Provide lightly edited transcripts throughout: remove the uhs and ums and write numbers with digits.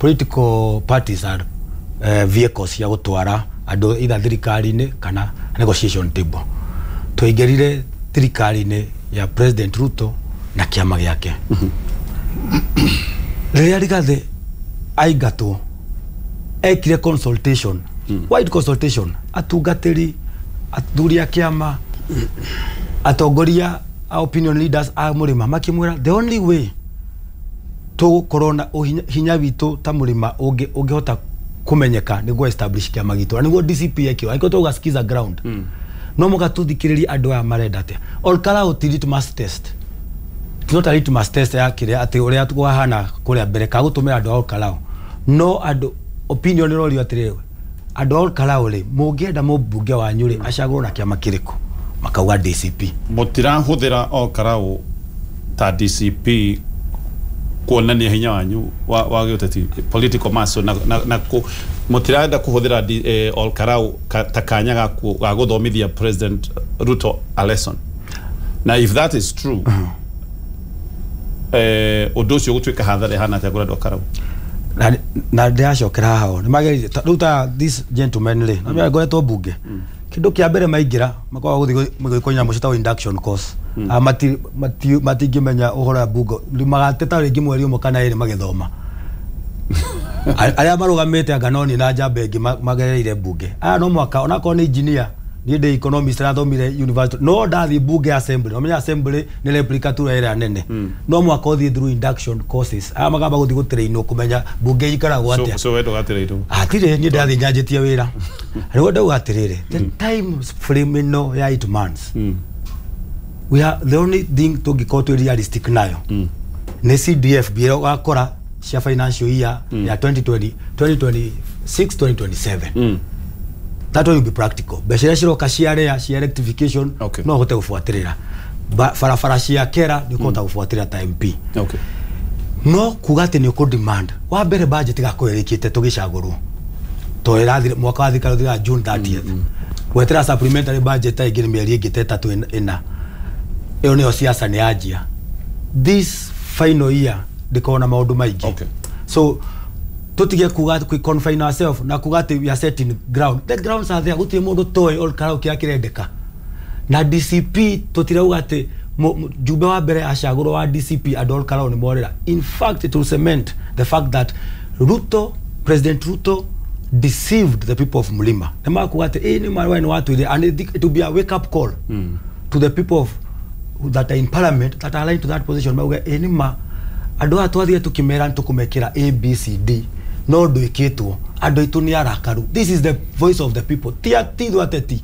Political parties are vehicles cia gũtwara andũ either thirikari-inĩ kana negotiation table. Twaingĩrire thirikari-inĩ ya President Ruto na kĩama gĩake. Rĩrĩa Rigathĩ aingatwo, ekire consultation, wide consultation, atungatĩri, athuri a kĩama, atongoria a opinion leaders a mũrĩma, makĩmwĩra the only way tũgũkorwo na hinya witũ ta mũrĩma ũngĩhota kũmenyeka nĩguo establish kĩama gitũ, na nĩguo DCP ekĩo. Angĩkorwo tũgauga sikiza ground, no mũka tũthikĩrĩrie andũ aya marenda atĩa. Ol Kalou ti litmus test. It's not a litmus test ya kĩrĩa atĩ ũrĩa kwahana kũrĩa mbere ka gũtũmĩra andũ a Ol Kalou, no andũ opinion ĩrorio atĩrĩrĩ, andũ a Ol Kalou rĩ, mũngĩenda mũmbunge wanyu rĩ acagũrwo na kĩama kĩrĩkũ? Makauga DCP. Mũtirahũthĩra Ol Kalou ta DCP kuonania hinya wanyu wa gĩũteti, political muscle, na mũtirenda kũhũthĩra Ol Kalou ta kanya ga gũthomithia President Ruto a lesson? Na if that is true, ũndũ ũcio gũtuĩka hathara ĩhana atĩa kũrĩ andũ a Karau? Na ndĩracokera haha, o nĩ mageririe rĩu ta this gentleman rĩ, na ngoretwo mbunge, kĩndũ kĩa mbere maingĩra makoragwo gũthiĩ gwĩkwo nyamũ ciĩtagwo induction course. Ah, matingĩmenya ũhoro wa bunge, magateta rĩngĩ mweri ũmwe kana ĩrĩ magĩthoma. Arĩa marũgamĩte anga no niĩ na njamba ĩngĩ magereire mbunge aya, no mwaka onakorwo nĩ engineer, niĩ ndĩ economist, rathomire university, no ndathiĩ mbunge assembly, nomenya assembly nĩ replica tu ĩrĩa nene, no mwaka ũthiĩ through induction courses. Aya makamba gũthiĩ gũtrainwo kũmenya mbunge ikaragwo atĩa. So we ndũgatĩrĩirwo? Hatirĩ, niĩ ndathiĩ nyanjĩtie wĩra. Rĩu ndauga atĩrĩrĩ, the time frame ĩno ya 8 months, we are the only thing tũngĩkorwo twĩ realistic nayo nĩ CDF ĩrĩa ũgakora cia financial year ya 2020, 2026, 2027. That will be practical. Mbeca iria ciroka cia rea cia rectification, no ũhote gũbuatĩrĩra barabara cia kera, nĩ ũkũhota gũbuatĩrĩra ta MP. No kuga atĩ nĩ ũkũ demand wa mbere budget igakorwo ĩrĩkĩte tũgĩcagũrwo, to ĩrathire mwaka wa thirikari ũthiraga June 30th, gwetera supplementary budget ta ĩngĩ nĩ mĩeri ĩngĩ ta ĩtatũ ĩna. Ĩyo nĩyo siasa nĩ yanjia. This final year ndĩkorwo na maũndũ maingĩ. So tutige kuga kwi confine ourselves na kuga atĩ we are setting ground. The grounds are there. Gũtirĩ mũndũ toĩ Ol Kalou kĩrĩa kĩrendeka na DCP. Tũtirauga atĩ jumbe wa mbere acagũrwo wa DCP, andũ a Ol Kalou nĩ morĩra. In fact, it will cement the fact that Ruto, President Ruto deceived the people of Mlima. Nĩ makuga atĩ ĩ nĩ marũa nĩ watwĩrire, and it will be a wake up call to the people of that are in parliament that are aligned to that position. Mauge ĩ nĩ ma andũ aya twathire tũkĩmera nĩ tũkũmekĩra ABCD, no ndwĩkĩtwo. Andũ aitũ nĩ arakaru. This is the voice of the people, ti ithuĩ ateti.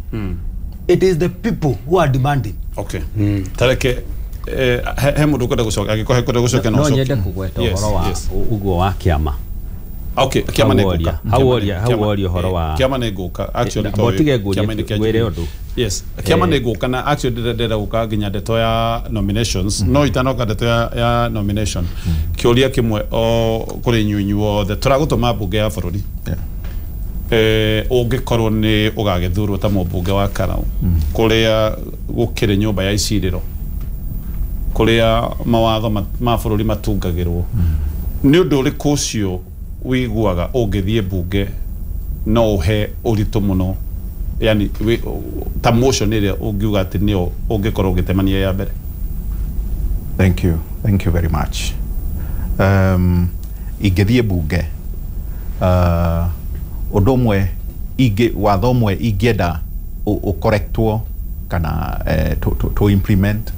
It is the people who are demanding. Okay, tareke he mũndũ ũkwenda gũcoka, angĩkorwo he kwenda gũcoka. No nyende kũgweta ũhoro wa ũguo wa kĩama. Okay, kĩama nĩ ngũka. Hau woria ũhoro wa Kĩama nĩ ngũka actually. Tondũ tige ngũrie, ngwĩre ũndũ. Yes, kĩama nĩ ngũka, na actually ndĩrenda gũka nginya ndeto ya nominations, no itanoka ndeto ya nomination, kĩũria kĩmwe o kũrĩ inyuĩ inyuothe. Tũragũtũma mbunge ya bũrũri, ũngĩkorwo nĩ ũgagĩthurwo ta mũmbunge wa Karau, kũrĩa gũkĩrĩ nyũmba ya icirĩro, kũrĩa mawatho ma bũrũri matungagĩrwo, nĩ ũndũ ũrĩkũ ũcio wĩiguaga ũngĩthiĩ mbunge no ũhe ũritũ mũno, yani ta motion ĩrĩa ũngiuga atĩ nĩyo ũngĩkorwo ũgĩtemania ya mbere? Thank you. Thank you very much. Ingĩthiĩ bunge, ũndũ ũmwe ingĩ, watho ũmwe ingĩenda ũkorektwo kana to implement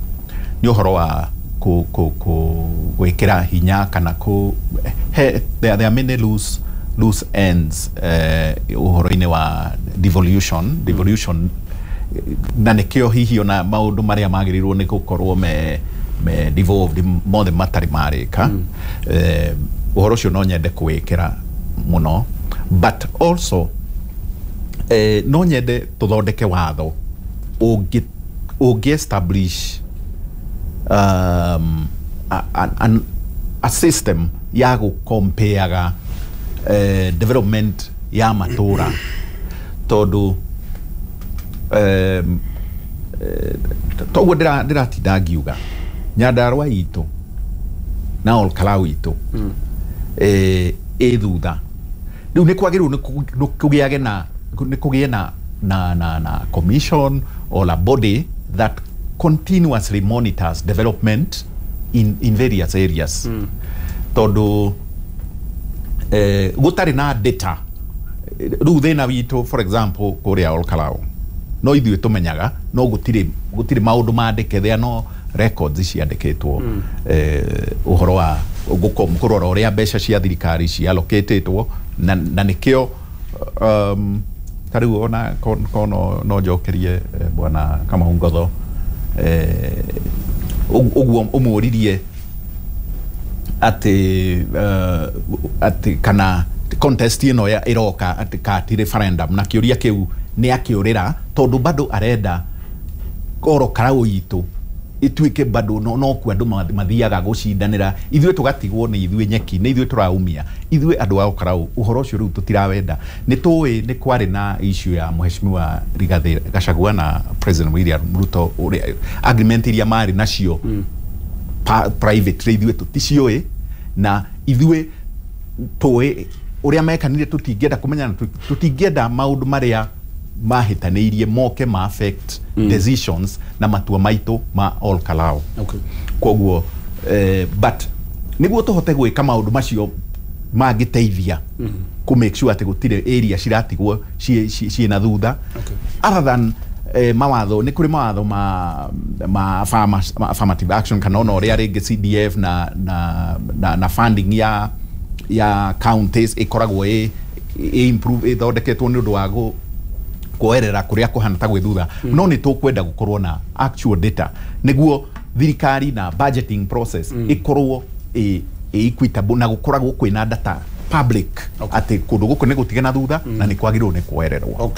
nĩ ũhoro wa ku, ku, ku, gwĩkĩra hinya kana ku he, there are many loose ends ũhoro-inĩ wa devolution, na nĩkĩo hihi ona maũndũ marĩa magĩrĩirwo nĩ gũkorwo me devolved mothe matarĩ marĩka. Ũhoro ũcio no nyende kũwĩkĩra mũno, but also no nyende tũthondeke watho ũngĩ establish a system ya gũkompeaga development ya matũra, tondũ toguo ndĩratinda ngiuga Nyandarua itũ na Ol Kalou itũ. ĩ thutha. Rĩu nĩ kwagĩrĩirwo nĩ kũgĩage na nĩ kũgĩe na commission or a body that continuously monitors development in various areas. Tondũ gũtarĩ na data, rĩu thĩna witũ, for example, kũrĩa Olkalou, no ithuĩ tũmenyaga, no gũtirĩ maũndũ mandĩke, there are no records ciandĩkĩtwo ũhoro wa kũrora ũrĩa mbeca cia thirikari cialocatĩtwo, na nĩkĩo ta rĩu ona ko no njokerie bwana Kamau Ngotho ũguo ũmũririe atĩ kana contest ĩno ĩroka atĩ ka ti referendum, na kĩũria kĩu nĩ akĩũrĩra tondũ bado arenda oro Karau itũ ituĩke bado no kuo andũ mathiaga gũcindanĩra, ithuĩ tũgatigwo nĩ ithuĩ nyeki, nĩ ithuĩ tũraumia, ithuĩ andũ a Karau ũhoro ũcio rĩu tũtirawenda. Nĩ tũĩ nĩ kwarĩ na issue ya Mheshimiwa Rigathi Gachagua na President William Ruto, ũrĩa agreement iria marĩ nacio privately ithuĩ tũticiũĩ, na ithuĩ tũĩ ũrĩa mekanire, tũtingĩenda kũmenya na tũtingĩenda maũndũ marĩa mahĩtanĩirie moke ma affect decisions na matua maitũ ma Ol Kalou. Koguo but nĩguo tũhote gwĩka maũndũ macio mangĩteithia kũ make sure atĩ gũtirĩ area ciratigwo ciĩ na thutha, other than mawatho, nĩ kũrĩ mawatho ma farmers, ma affirmative action, kana ona ũrĩa rĩngĩ CDF na funding ya counties ĩkoragwo ĩ improve, ĩthondeketwo nĩ ũndũ wa kuoerera kũrĩa kũhana ta gwĩ thutha. No nĩ tũkwenda gũkorwo na actual data nĩguo thirikari na budgeting process ĩkorwo ĩ equitable, na gũkoragwo kwĩna data public atĩ kũndũ gũkũ nĩ gũtige na thutha na nĩ kwagĩrĩirwo nĩ kuoererwo.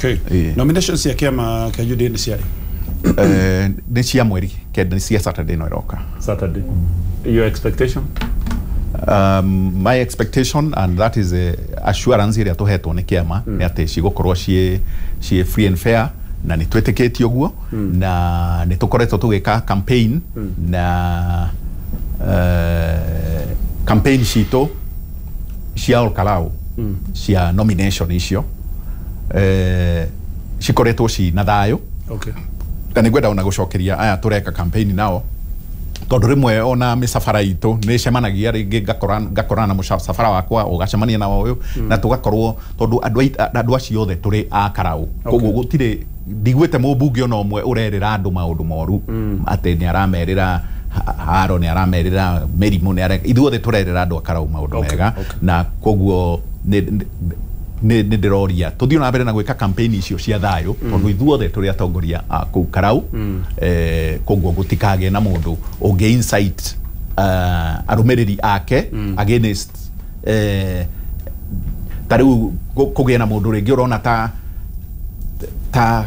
Nomination cia kĩama kĩa UDA nĩ ciarĩ? Nĩ cia mweri 9, nĩ cia Saturday no ĩroka. Saturday. Your expectation? My expectation, and that is a assurance ĩrĩa tũhetwo nĩ kĩama, nĩ atĩ cigũkorwo ciĩ free and fair, na nĩ twĩtĩkĩtie ũguo, na nĩ tũkoretwo tũgĩka campaign, na campaign citũ cia Ol Kalou cia nomination icio cikoretwo ci na thayũ. Na nĩ ngwenda ona gũcokeria aya tũreka campaign nao, tondũ rĩmwe ona mĩcabara itũ nĩ ĩcemanagia, rĩngĩ ngakorana na mũcabara wakwa, ũgacemania na ũyũ, na tũgakorwo tondũ andũ acio othe tũrĩ a Karau. Koguo gũtirĩ, ndiguĩte mũmbunge ona ũmwe ũrerĩra andũ maũndũ moru, atĩ nĩ aramerĩra haro, nĩ aramerĩra mĩrimũ, nĩ ithuothe tũrerĩra andũ a Karau maũndũ mega. Na koguo nĩ ndĩroria tũthiĩ na mbere na gwĩka campaign icio cia thayũ, tondũ ithuothe tũrĩ atongoria a kũu Karau. Koguo gũtikagĩe na mũndũ ũngĩ incite arũmĩrĩri ake against ta rĩu kũgĩe na mũndũ rĩngĩ ũrona ta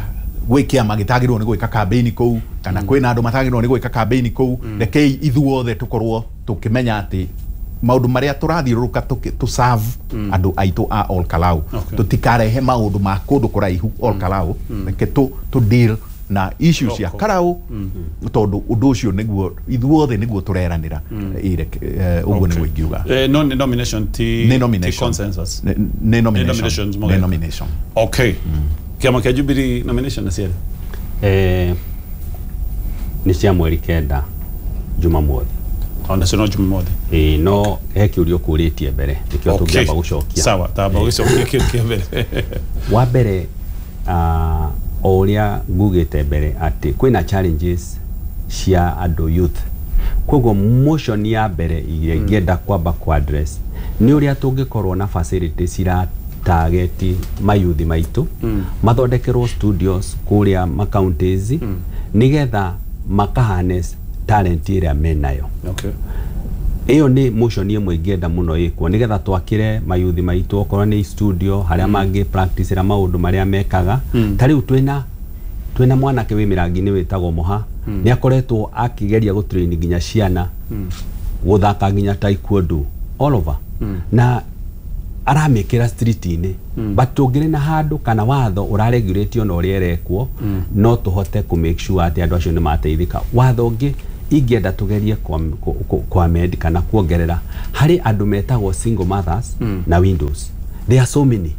gwĩ kĩama gĩtagĩrĩirwo nĩ gwĩka campaign kũu, kana kwĩna andũ matagĩrĩirwo nĩ gwĩka campaign kũu. Rekei ithuothe tũkorwo tũkĩmenya atĩ maũndũ marĩa tũrathiũrũrũka tũ serve andũ aitũ a Ol Kalou. Tũtikarehe maũndũ ma kũndũ kũraihu Ol Kalou. Reke tũ deal na issues cia Local. Karau, tondũ ũndũ ũcio nĩguo ithuothe nĩguo tũreranĩra. Ũguo nĩguo ingiuga. No nĩ nomination, ti Nĩ nomination. Ti consensus. Nĩ nomination. Nominations Nĩ mũgeka. nomination. Okay, kĩama kĩa Jubilee nomination nĩ ciarĩ? Nĩ cia mweri 9, Jumamothi. Ona cio no Jumamothi? Ĩĩ, no he kĩũria ũkũrĩtie mbere, nĩkĩo tũngĩamba gũcokia. Sawa, tamba gũcokia kĩu kĩa mbere. Wa mbere, o ũrĩa ngugĩte mbere atĩ kwĩna challenges cia andũ youth, koguo motion ya mbere iria ingĩenda kwamba ku address nĩ ũrĩa tũngĩkorwo na facility cira target mayuthi maitũ, mathondekerwo studios kũrĩa ma counties, nĩgetha maka harness talent ĩrĩa menayo. Ĩyo nĩ motion ĩmwe ingĩenda mũno ĩkwo, nĩgetha twakĩre mayuthi maitũ okorwo nĩ studio harĩa mangĩ practice maũndũ marĩa mekaga. Ta rĩu twĩna mwanake wĩ mĩrangi-inĩ wĩtagwo Moha, nĩ akoretwo akĩgeria gũtrain nginya ciana gũthaka nginya taekwondo all over, na aramĩkĩra street-inĩ. But tũngĩrĩ na handũ kana watho ũraregulate ona ũrĩa ĩrekwo, no tũhote kũ make sure atĩ andũ acio nĩ mateithĩka. Watho ũngĩ Ingĩenda tũgerie kwa kana kuongerera harĩ andũ metagwo single mothers na widows. There are so many,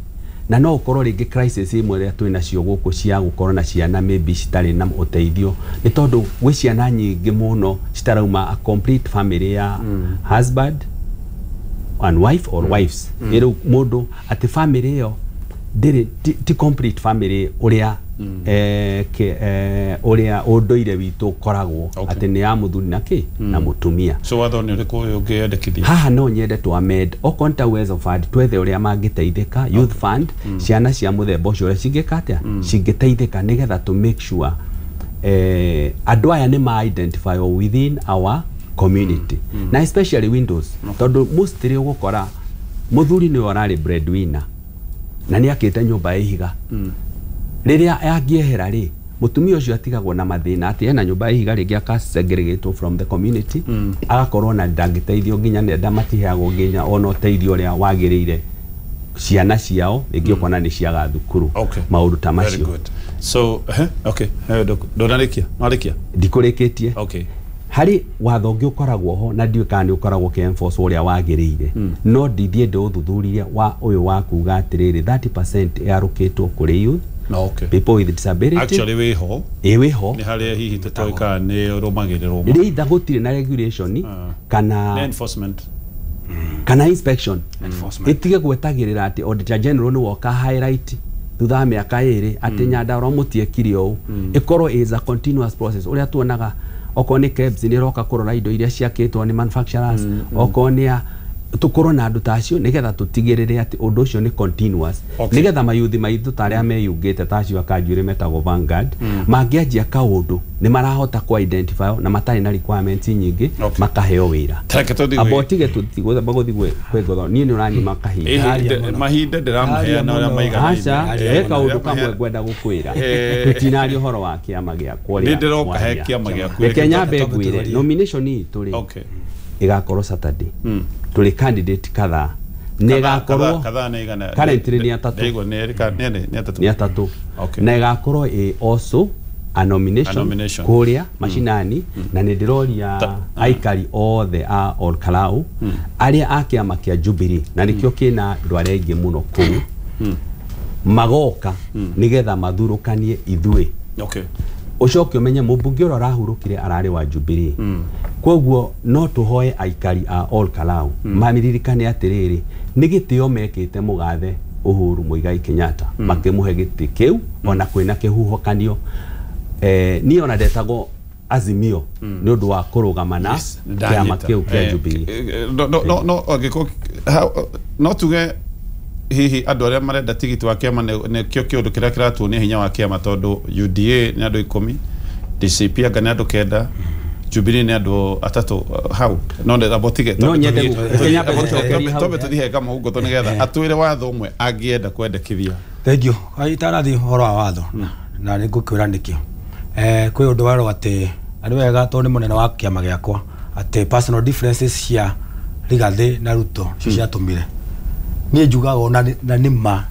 na no ũkorwo rĩngĩ crisis imwe ĩrĩa twĩ nacio gũkũ cia gũkorwo na ciana maybe citarĩ na ũteithio nĩ tondũ gwĩ ciana nyingĩ mũno citarauma a complete family ya husband and wife or wives. Rĩu mũndũ atĩ family ĩyo ndĩrĩ ti complete family ũrĩa ũrĩa ũndũire witũ ũkoragwo atĩ nĩ ya mũthuri na kĩ na mũtumia. So watho nĩ ũrĩkũ ũngĩendekithia? Haha no nyende tu amend okorwo nĩ ta Uwezo Fund, twethe ũrĩa mangĩteithĩka, youth fund, ciana cia mũthemba ũcio ũrĩa cingĩka atĩa, cingĩteithĩka, nĩgetha to make sure andũ aya nĩ ma identify within our community, na especially widows, tondũ mostly ũgũkora mũthuri nĩwe ũrarĩ breadwinner na nĩ akĩte nyũmba ya ihiga. Rĩrĩa angĩehera rĩ, mũtumia ũcio atigagwo na mathĩna atĩ ena nyũmba ya ihiga, rĩngĩ aka-segregatwo from the community, agakorwo na ndangĩteithio nginya nenda matiheagwo nginya ona ũteithio ũrĩa wagĩrĩire, ciana ciao rĩngĩ ũkona nĩ ciaga thukuru, maũndũ ta Very macio. good. So okay, ndũnarĩkia, warĩkia? Ndikũrĩkĩtie. Harĩ watho ũngĩ ũkoragwo ho na ndiũĩ kana nĩ ũkoragwo ũkĩ-enforce ũrĩa wagĩrĩire, no ndithiĩ ndĩũthuthurie, wa ũyũ wa kuga atĩrĩrĩ, 30% ĩarũkĩtwo kũrĩ youth, No, okay. people with disability. Actually wĩho. Ĩ, wĩho. Nĩ harĩa hihi tũtoĩ kana nĩ ũrũmagĩrĩrwo. Rĩ gũtirĩ na regulation kana Nĩ enforcement. Kana inspection. Enforcement. Ĩtige gwetagĩrĩra atĩ auditor general nĩ woka highlight thutha wa mĩaka 2 atĩ Nyandarua mũtiekire ũũ. Ĩkorwo is a continuous process, ũrĩa tuonaga okorwo nĩ KEBS nĩ ĩroka kũrora indo iria ciakĩtwo nĩ manufacturers, okorwo nĩ a tũkorwo na andũ ta acio nĩgetha tũtigĩrĩre atĩ ũndũ ũcio nĩ continuous, nĩgetha mayuthi maitũ ta arĩa meyungĩte ta acio akanjuĩrĩ metagwo Vanguard mangĩanjia kaũndũ nĩ marahota ku identify na matarĩ na requirements nyingĩ, makaheo wĩra. Reke tũthiĩ Amba ũtige tũtigũthamba gũthiĩ kwĩ ngotho, niĩ nĩ ũranyima kahinda. Aria mũno. Mahinda ndĩramũheana ũrĩa Aria maiganaine. Aca, Aria he kaũndũ mũno. kamwe ngwenda gũkwĩra. Tũtinaria ũhoro wa kĩama gĩakwa Nĩ ũrĩa ndĩroka he mwaria. kĩama gĩaku. Reke nyambe Twambe ngwĩre tũhorie. nomination itũ rĩ, ĩgakorwo Saturday. Tũrĩ candidate kadhaa na ĩgakorwo Kadhaa nĩ igana? Currently nĩ atatũ. Ndaigua nĩ erĩ nĩ erĩ, nĩ atatũ. Nĩ atatũ. Na ĩgakorwo ĩ also a nomination, A nomination. kũrĩa macinani, na nĩ ndĩroria aikari othe a Ol Kalou arĩa a kĩama kĩa Jubilee, na nĩkĩo kĩna andũ arĩa aingĩ mũno kũu, magoka nĩgetha mathurũkanie ithuĩ. Ũcoke ũmenye mũmbunge ũrĩa ũrahurũkire ararĩ wa Jubilee, koguo no tũhoe aikari a Ol Kalou maririkane atĩrĩrĩ, nĩ gĩtĩo mekĩte mũgathe Uhuru Muigai Kenyatta makĩmũhe gĩtĩ kĩu ona kwĩna kĩhuhũkanio. Niĩ ona ndetagwo Azimio nĩ ũndũ wa kũrũgama na kĩama kĩu kĩa Jubilee. No angĩkorwo no tuge hihi andũ arĩa marenda tigiti wa kĩama nĩkĩo kĩũndũ kĩrĩa kĩratuonia hinya wa kĩama, tondũ UDA nĩ andũ 10, DCP anga nĩ andũ 9, Jubilee nĩ andũ 3 hau no amba tige. No nyende reke nyambe gũcokeria hau. Twambe tũthiĩ he Kamau Ngotho nĩgetha atwĩre watho ũmwe angĩenda kwendekithia. Thank you. Itanathi ũhoro wa watho na nĩ ngũkwĩra nĩkĩ, kwĩ ũndũ werwo atĩ arĩ wega tondũ nĩ mũnene wa kĩama gĩakwa, atĩ personal differences cia Rigathĩ na Ruto cio ciatũmire niĩ njugaga ona na nĩ ma,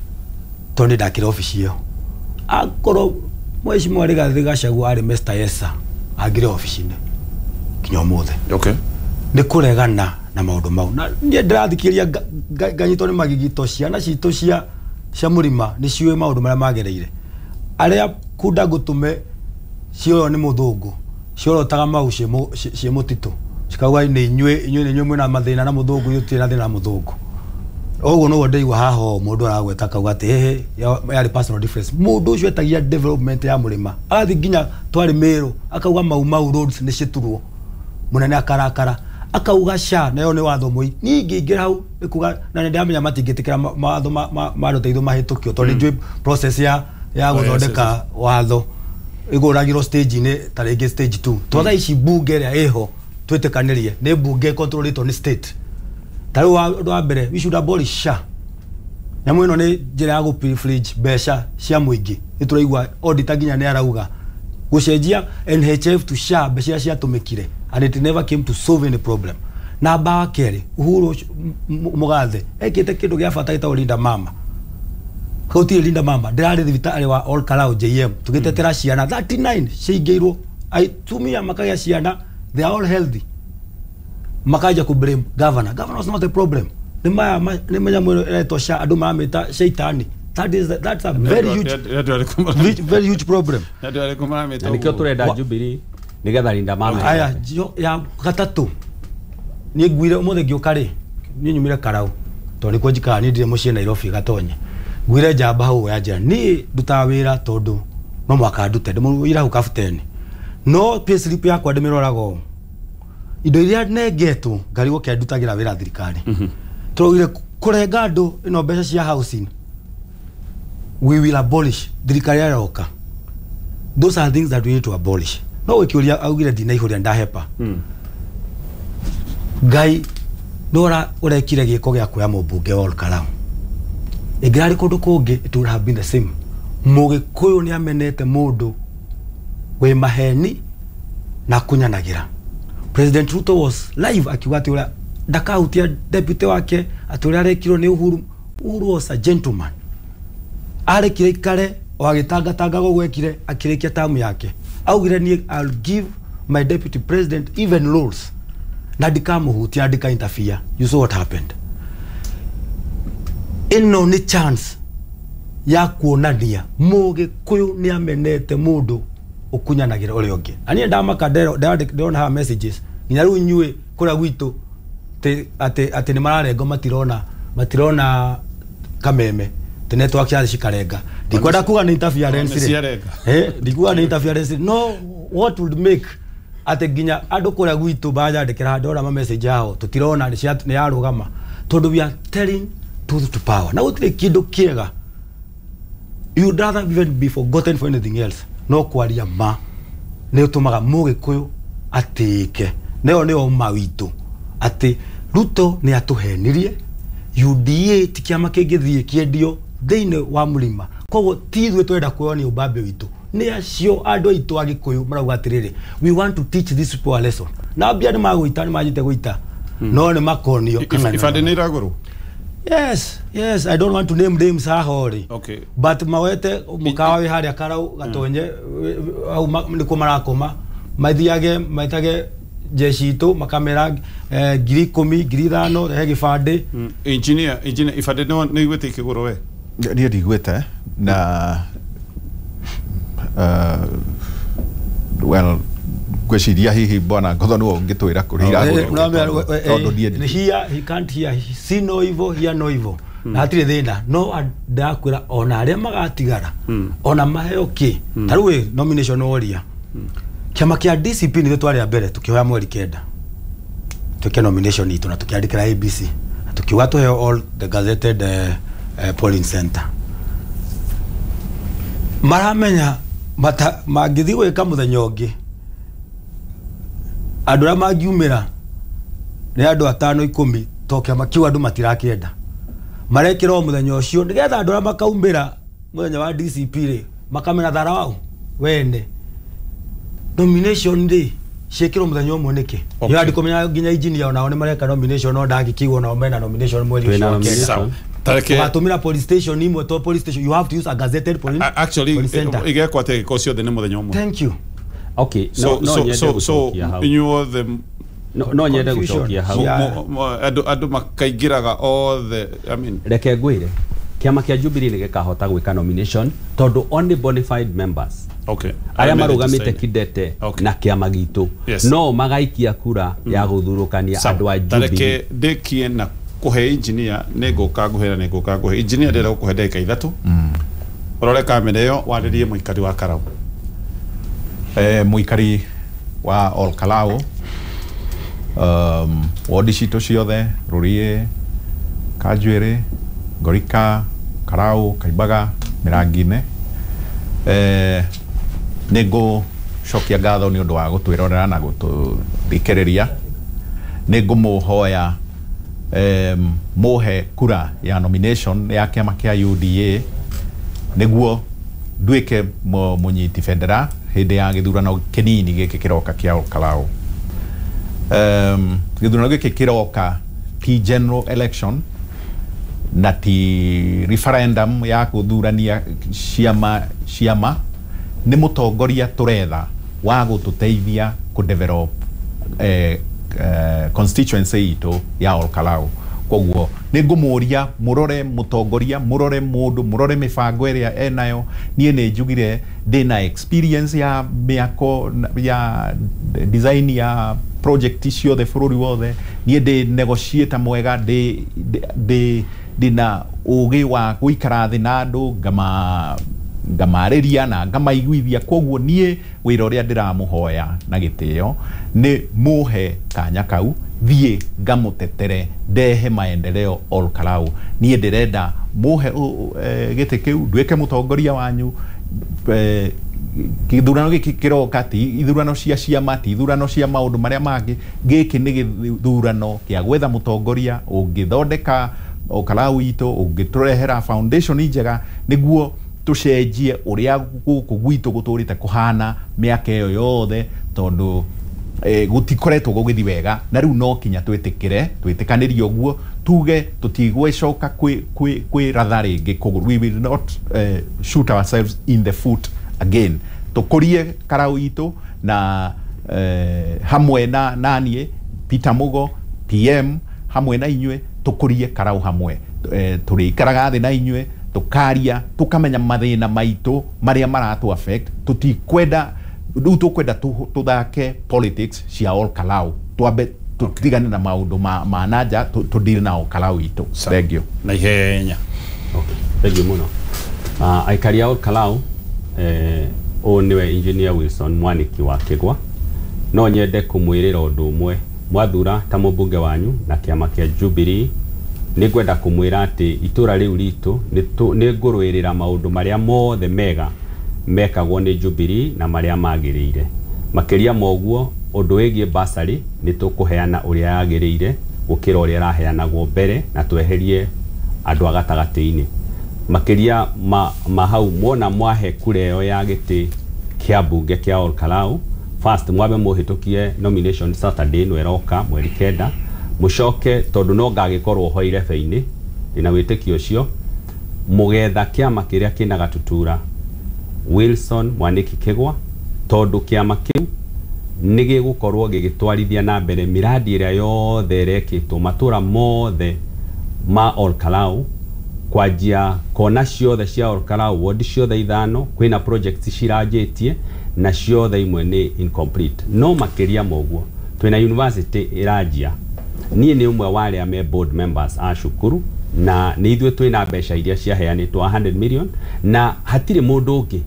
tondũ nĩ ndakĩra obici ĩyo, akorwo mheshimiwa Rigathĩ Gachagua arĩ Mr. Yes Sir angĩrĩ obici-inĩ nginya ũmũthĩ. Nĩ kũregana na maũndũ mau, na niĩ ndĩrathikĩrĩria nganyitwo nĩ magigito. Ciana citũ cia mũrima nĩ ciũĩ maũndũ marĩa magereire, arĩa kunda ngũtũme cioywo nĩ mũthũngũ, ciorotaga mau ciĩ mũtitũ, cikauga nĩ inyuĩ, nĩ inyuĩ mwĩna mathĩna na mũthũngũ, ithuĩ tũtirĩ na thĩna na mũthũngũ. Ũguo noguo ndĩigua haha ũũ mũndũ aragweta akauga atĩ hehe yarĩ personal difference. Mũndũ ũcio etagia development ya mũrĩma, agathiĩ nginya twarĩ Mĩrũ akauga mau mau roads nĩ citurwo, mũnene akarakara akauga sha nayo nĩ watho mũi. Niĩ ingĩingĩra hau nĩ kuga na nĩ ndĩramenya matingĩtĩkĩra mawatho ma rũteithio mahĩtũkio, tondũ nĩ njũĩ process ya Oh, yes, gũthondeka watho ĩgũragĩrwo stage-inĩ, ta rĩngĩ stage 2, to thaa ici mbunge ĩrĩa ĩho twĩtĩkanĩrie nĩ mbunge controlĩtwo nĩ state. Ta rĩu ũndũ wa mbere, we should abolish SHA. Nyamũ ĩno nĩ njĩra ya gũ mbeca cia mũingĩ. Nĩ tũraigua auditor nginya nĩ arauga gũcenjia NHIF to SHA, mbeca iria ciatũmĩkire, and it never came to solve any problem. Namba wa kerĩ, Uhuru mũgathe ekĩte kĩndũ gĩa bata gĩtagwo Linda Mama. Gũtirĩ Linda Mama. Ndĩrarĩ thibitarĩ wa Ol Kalou JM tũgĩtetera ciana 39 ciaingĩirwo, atumia makagĩa ciana They are all healthy. Makaja ku blame governor. Governor was not a problem. Nĩ maya nĩ manyamũ ĩno ĩretwo sha, andũ maramĩta shaitani. That's a very huge, very huge problem. Andũ arĩkũ maramĩta Na nĩkĩo ũguo? tũrenda Jubilee nĩgetha Linda Mama. Aya, ya gatatũ, niĩ nguire ũmũthĩ ngĩũka rĩ, niĩ nyumire Karau tondũ nĩkuo njikaraga, niĩ ndirĩ mũciĩ Nairobi Gatonye. Nguire njamba hau ya njĩra, niĩ ndutaga wĩra tondũ no mwaka ndute ndĩmũira hau kabuteni, no payslip yakwa ndĩmĩroraga ũũ, indo iria nengetwo ngarigwo kĩa ndutagĩra wĩra thirikari. Tũraugire kũrenga andũ ĩno mbeca cia housing, we will abolish thirikari yaroka. Those are things that we need to abolish. No gĩkĩũria augire ndinaihũria ndahepa. Ngai nora ũrekire gĩko gĩa kuoya mũmbunge wa Olkalau, ĩngĩrarĩ kũndũ kũngĩ it would have been the same. Mũgĩkũyũ nĩ amenete mũndũ wĩ maheni na kunyanagĩra. President Ruto was live akiuga atĩ ũrĩa ndakahutia deputy wake, atĩ ũrĩa arekirwo nĩ Uhuru. Uhuru was a gentleman, arekire ikare o agĩtangatanga ũguo ekire akĩrĩkia tamu yake. Augire niĩ I'll give my deputy president even roles na ndikamuhutia na ndika interfere. You saw what happened. Ĩno nĩ chance ya kuonania mũgĩkũyũ nĩ amenete mũndũ ũkunyanagĩra ũrĩa ũngĩ. Na niĩ ndamaka ndĩrona haha messages nginya rĩu inyuĩ kũrĩa gwitũ atĩ nĩ mararengo, matirona kameme tĩ network ya cikarenga. Ndikwenda kuga nĩ interference Nĩ rĩ. ciarenga. Ndikuga nĩ interference, no what would make atĩ nginya andũ kũrĩa gwitũ banjandĩkĩra ndona ma message yao tũtirona nĩ yarũgama, tondũ we are telling truth to power na gũtirĩ kĩndũ kĩega. You'd rather even be forgotten for anything else, no kwaria ma nĩ ũtũmaga mũgĩkũyũ atĩĩke. Nayo nĩyo ma witũ atĩ Ruto nĩ atũhenirie. UDA ti kĩama kĩngĩthiĩ kĩendio thĩinĩ wa mũrima, koguo ti ithuĩ twenda kuonia ũmbambe witũ, nĩ acio andũ aitũ a Gĩkũyũ marauga atĩrĩrĩ, we want to teach these people a lesson. Na mbia nĩ magũita, nĩ manjĩte gũita, no nĩ makonio kana Ibandĩ nĩ iragũrwo? Yes, I don't want to name names haha rĩ. But mawete mũkawa wĩ harĩa Karau Gatonye hau nĩkuo marakoma, mathiage maitage jeshi itũ makamera 10,000, 5,000, rehe gĩbandĩ. Engineer, ibandĩ nĩ iguĩte ikĩgũrwo we? Niĩ ndiguĩte na well, ngwĩciria hihi bwana Ngotho nĩwe ũngĩtwĩra kũrĩa iragũrwo, tondũ niĩ Hear, he can't hear, see no evil, hear no evil, na hatirĩ thĩna. No ndakwĩra ona arĩa magatigara ona maheo kĩ, ta rĩu ĩ nomination woria kĩama kĩa DCP nĩthuĩ twarĩ a mbere tũkĩhoya mweri 9 twĩke nomination itũ na tũkĩandĩkĩra ABC na tũkiuga tũheo all the gazetted polling center. Maramenya mata mangĩthiĩ gwĩka mũthenya ũngĩ, andũ arĩa mangiumĩra nĩ andũ atano 10, to kĩama kĩu andũ matirakĩenda. Marekĩra o mũthenya ũcio nĩgetha andũ arĩa makaumĩra mũthenya wa DCP rĩ makamena thara wao wene. Nomination rĩ ciĩkĩrwo mũthenya ũmwe nĩkĩ? Nĩ andĩ kũmenya nginya engineer onao nĩ mareka nomination, no ndangĩkigwo nao mena nomination mweri Twĩna ũcio wa kenda. nomination. Sawa. Tareke Ũgatũmĩra police station imwe, to police station you have to use a gazetted police, actually police center. Igekwo atĩ gĩko ciothe nĩ mũthenya ũmwe. Thank you. Okay, So no, no so nyende so so gũcokia hau. inyuothe No nyende Confusion. gũcokia hau. Yeah. Andũ makaingĩraga othe, I mean. Reke ngwĩre, kĩama kĩa Jubilee nĩ gĩkahota gwĩka nomination tondũ only bona fide members arĩa marũgamĩte Registered. kidete na kĩama gitũ no magaikia kura ya gũthurũkania Sawa. andũ a Jubilee. Tareke ndĩkie na kũhe engineer, nĩ ngũka ngũhe na nĩ ngũka ngũhe engineer. Ndĩrenda gũkũhe ndagĩka 3 ũrore kamera ĩyo warĩrie mũikari wa Karau. Mũikari wa Olkalau, wodi citũ ciothe, Rũriĩ, Kanjuĩrĩ, Ngorika, Karau, Kaimbaga, Mĩrangi-inĩ, nĩ ngũcokia ngatho nĩ ũndũ wa gũtwĩrorera na gũtũthikĩrĩria. Nĩ ngũmũhoya mũhe kura ya nomination ya kĩama kĩa UDA nĩguo nduĩke mũnyiti bendera hĩndĩ ya gĩthurano kĩnini gĩkĩ kĩroka kĩa Olkalau. Gĩthurano gĩkĩ kĩroka ti general election na ti referendum ya gũthurania ciama, nĩ mũtongoria tũretha wa gũtũteithia kũ develop constituency itũ ya Olkalau. Koguo nĩ ngũmũria mũrore mũtongoria, mũrore mũndũ, mũrore mĩbango ĩrĩa enayo. Niĩ nĩ njugire ndĩna experience ya mĩako ya design ya project ciothe bũrũri wothe. Niĩ ndĩ negotiator mwega, ndĩna ũgĩ wa gũikara thĩ na andũ ngamarĩria na ngamaiguithia. Koguo niĩ wĩra ũrĩa ndĩramũhoya na gĩtĩo nĩ mũhe kanya kau thiĩ ngamũtetere ndehe maendeleo Olkalau. Niĩ ndĩrenda mũhe gĩtĩ kĩu nduĩke mũtongoria wanyu. Gĩthurano gĩkĩ kĩroka ti ithurano cia ciama, ti ithurano cia maũndũ marĩa mangĩ. Gĩkĩ nĩ gĩthurano kĩa gwetha mũtongoria ũngĩthondeka Olkalau itũ, ũngĩtũrehera foundation njega nĩguo tũcenjie ũrĩa gũkũ gwitũ gũtũrĩte kũhana mĩaka ĩyo yothe, tondũ gũtikoretwo gũgĩthiĩ wega. Na rĩu no kinya twĩtĩkĩre twĩtĩkanĩrie ũguo tuge tũtigwĩcoka kwĩratha rĩngĩ kũgũrũ. We will not shoot ourselves in the foot again. Tũkũrie Karau itũ na hamwe na naniĩ Peter Mugo PM hamwe na inyuĩ tũkũrie Karau hamwe. Tũrĩikaraga thĩ na inyuĩ tũkaria tũkamenya mathĩna maitũ marĩa maratũ affect. Tũtikwenda rĩu, tũkwenda tũthake politics cia Olkalau, twambe tũtigane na maũndũ ma nanja, tũdeal na Olkalau itũ. Thank you. Na ihenya. Okay, thank you muno. Aikari a Olkalau, ũyũ nĩwe Engineer Wilson Mwaniki wa Kĩgwa. No nyende kũmwĩrĩra ũndũ ũmwe. Mwathura ta mũmbunge wanyu na kĩama kĩa Jubilee, nĩ ngwenda kũmwĩra atĩ itũra rĩu ritũ nĩ ngũrũĩrĩra maũndũ marĩa mothe mega mekagwo nĩ Jubilee na marĩa magĩrĩire. Makĩria ma ũguo, ũndũ wĩgiĩ bursary nĩ tũkũheana ũrĩa yagĩrĩire gũkĩra ũrĩa ĩraheanagwo mbere, na tweherie andũ a gatagatĩ-inĩ. Makĩria ma hau, mwona mwahe kura ĩyo ya gĩtĩ kĩa mbunge kĩa Olkalau, first mwambe mũhĩtũkie nomination Saturday ĩno ĩroka mweri 9, mũcoke tondũ no ngagĩkorwo ho irebe-inĩ, ndĩna wĩtĩkio ũcio, mũgetha kĩama kĩrĩa kĩna gatutura Wilson Mwaniki Kĩgwa, tondũ kĩama kĩu nĩ gĩgũkorwo gĩgĩtwarithia na mbere miradi ĩrĩa yothe ĩrekĩtwo matũra mothe ma Olkalau, kwanjia kona ciothe cia Olkalau, ward ciothe ithano kwĩna projects ciranjĩtie na ciothe imwe nĩ incomplete. No makĩria ma ũguo, twĩna university ĩranjia. Niĩ nĩ ũmwe wa arĩa me board members a cukuru, na nĩ ithuĩ twĩna mbeca iria ciaheanĩtwo 100 million, na hatirĩ mũndũ ũngĩ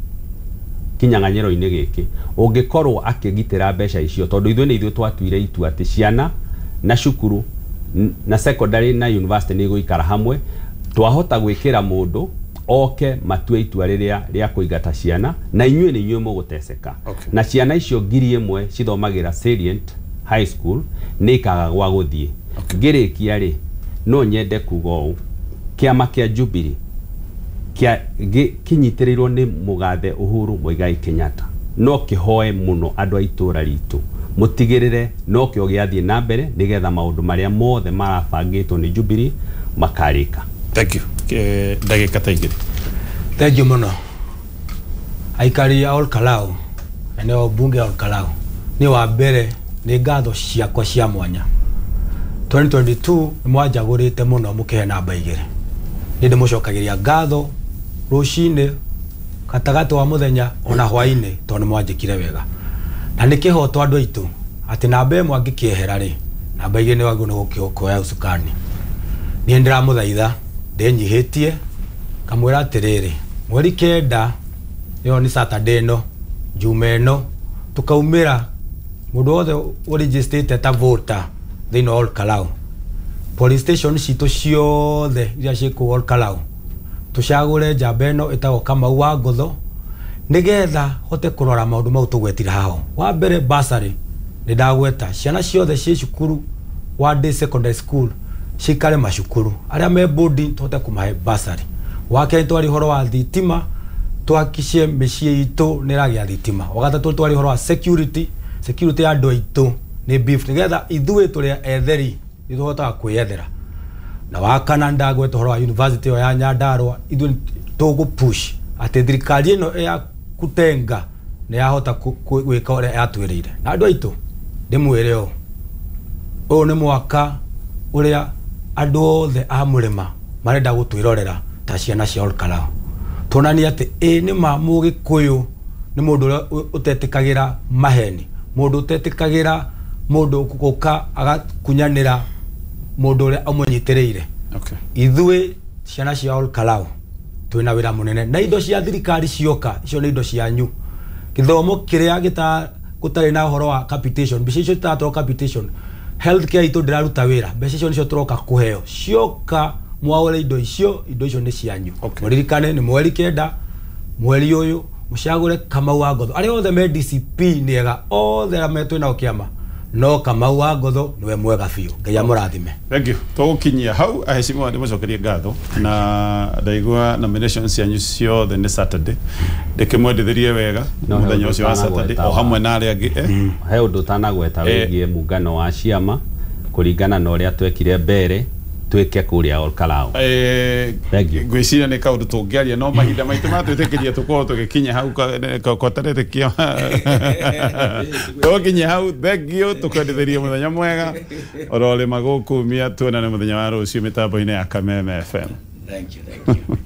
kinyang'anyĩro-inĩ gĩkĩ ũngĩkorwo akĩgitĩra mbeca icio, tondũ ithuĩ nĩ ithuĩ twatuire itua atĩ ciana na cukuru na secondary na university nĩ igũikara hamwe. Twahota gwĩkĩra mũndũ oke matue itua rĩrĩa rĩa kũingata ciana, na inyuĩ nĩ inyuĩ mũgũteceka. Na ciana icio 1000 cithomagĩra Salient High School nĩ ikaga gwa gũthiĩ. Ngĩrĩkia rĩ, no nyende kuga ũũ: kĩama kĩa Jubilee kĩa kĩnyitĩrĩirwo nĩ mũgathe Uhuru Muigai Kenyatta no kĩhoe mũno andũ a itũra ritũ mũtigĩrĩre no kĩo gĩathiĩ na mbere, nĩgetha maũndũ marĩa mothe marabangĩtwo nĩ Jubilee makarĩka. Thank you. Ndagĩka ta 2. Thank you mũno. Aikari a Olkalau na nĩo mbunge ya Olkalau, nĩ wa mbere nĩ ngatho ciakwa cia mwanya. 2022 nĩ mwanjagũrĩte mũno mũkĩhe namba 2. Nĩ ndĩmũcokagĩria ngatho rũcinĩ, gatagatĩ wa mũthenya, ona hwainĩ, tondũ nĩ mwanjĩkire wega. Na nĩ kĩhoto andũ aitũ atĩ namba 1 angĩkĩehera rĩ, namba 2 nĩ wagĩrĩirwo nĩ kuoya ũcukani. Niĩ ndĩramũthaitha ndĩnyihĩtie kamwĩra atĩrĩrĩ, mweri 9, ĩyo nĩ Saturday ĩno, njuma ĩno, tũkaumĩra mũndũ wothe ũregistrĩte ta voter thĩinĩ wa Olkalau, police station citũ ciothe iria ciĩ kũu Olkalau, tũcagũre njamba ĩno ĩtagwo Kamau wa Ngotho, nĩgetha hote kũrora maũndũ mau tũgwetire haho. Wa mbere, bursary nĩ ndagweta, ciana ciothe ciĩ cukuru wa day secondary school cikare macukuru, arĩa me boarding tũhote kũmahe bursary. Wa kerĩ, twari ũhoro wa thitima, twakicie mĩciĩ itũ nĩ ĩragĩa thitima. Wa gatatũ, twari ũhoro wa security, security ya andũ aitũ nĩ beef, nĩgetha ithuĩ tũrĩ etheri nĩ tũhotaga kwĩyethera. Na wa kana, ndagweta ũhoro wa university ĩyo ya Nyandarua, ithuĩ tũgũ push atĩ thirikari ĩno ya kutenga nĩ yahota gwĩka ũrĩa yatwĩrĩire. Na andũ aitũ, Ndĩmwĩre ũũ, ũyũ nĩ mwaka ũrĩa andũ othe a mũrĩma marenda gũtwĩrorera ta ciana cia Olkalou. Tuonanie atĩ ĩ nĩ ma Mũgĩkũyũ nĩ mũndũ ũrĩa ũtetĩkagĩra maheni, mũndũ ũtetĩkagĩra mũndũ gũka agakunyanĩra mũndũ ũrĩa amũnyitĩrĩire. Ithuĩ ciana cia Olkalou twĩna wĩra mũnene, na indo cia thirikari cioka, icio nĩ indo cianyu. Gĩthomo kĩrĩa gĩta gũtarĩ na ũhoro wa capitation, mbeca icio citaratwarwo capitation, healthcare itũ ndĩraruta wĩra, mbeca icio nĩcio tũroka kũheo. Cioka mwaũre indo icio, indo icio nĩ cianyu. Mũririkane nĩ mweri 9 mweri ũyũ, mũcagũre Kamau wa Ngotho. Arĩa othe me DCP nĩ ega, othe arĩa me twĩ nao kĩama, no Kamau wa Ngotho nĩwe mwega biũ. Ngai amũrathime. Thank you. Tũgũkinyia hau, aheshimiwa, ndĩmũcokerie ngatho na ndaigua nominations cianyu ciothe nĩ Saturday, ndĩkĩmwendithĩrie wega No, he mũthenya ũndũ ũcio wa Saturday ũtanagweta o hamwe na arĩa angĩ. He ũndũ ũtanagweta Eh. wĩgiĩ mũngano wa ciama kũringana na ũrĩa twekire mbere twĩke kũrĩa Olkalou. Thank you. Ngwĩciria nĩ kaũndũ tũngĩaria, no mahinda maitũ matwĩtĩkĩria tũkorwo tũgĩkinya hau kotaretĩkia tũkinya hau. Thank you, tũkwendithĩrie mũthenya mwega ororĩma gũkumia, tuonane mũthenya wa rũciũ mĩtambo-inĩ ya Kameme FM. Thank you, thank you.